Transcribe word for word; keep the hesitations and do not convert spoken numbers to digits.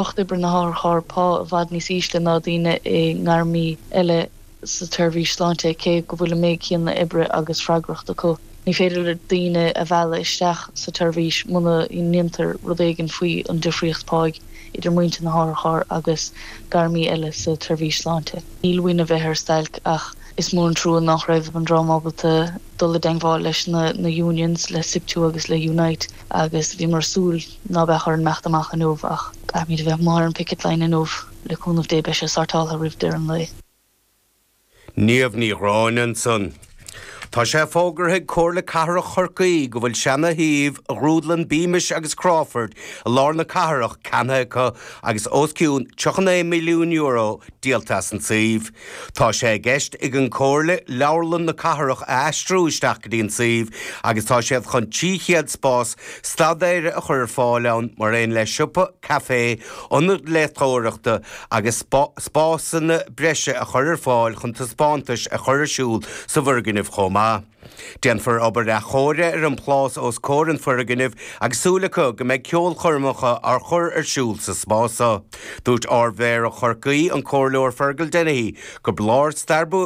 Lucht oibre na hotharchairr pá i bhfad níos ísle ná daoine i ngairmí eile sa tseirbhís sláinte cé go bhfuil an méid céanna oibre agus freagracht acu. Ní féidir le daoine a mhealladh isteach sa tseirbhís muna ndéantar rud éigin faoi an difríocht páigh idir muintir na hotharchairr agus gairmí eile sa tseirbhís sláinte. Níl uainn a bheith ar stailc ach is mór an trua nach raibh an dream ábalta dul i dteagmháil leis na na unions le SIPTU agus le Unite agus bhíomar ag súil ná beadh orainn imeacht amach inniu ach caithfimid a bheith amuigh ar an picket line inniu le cúnamh Dé beidh sé sortáltha roimh deireadh an lae. Niamh Ní Ghráinne ansan. Tá sé fógartha ag Comhairle Cathrach Chorcaí go bhfuil seana-shuíomh Ghrúdlann Beamish agus Crawford i lár na cathrach ceannaithe acu agus os cionn tríocha naoi milliún euro díolta as an suíomh. Tá sé i gceist ag an Comhairle leabharlann na cathrach a aistriú isteach go dtí an suíomh agus tá siad chun trí chéad spás staidéir a chur ar fáil ann mar aon le siopa, caife, ionad léitheoireachta agus spásanna breise a chur ar fáil chun taispeántais a chur ar siúl sa bhfoirgneamh chomh maith. Déanfar obair athchóirithe ar an phlás os comhair an fhoirgnimh agus súil acu go mbeidh ceolchoirmeacha á chur ar siúl sa spás. Dúirt Ardmhéara Chorcaí an Comhairleoir Fergal Dennehy go blár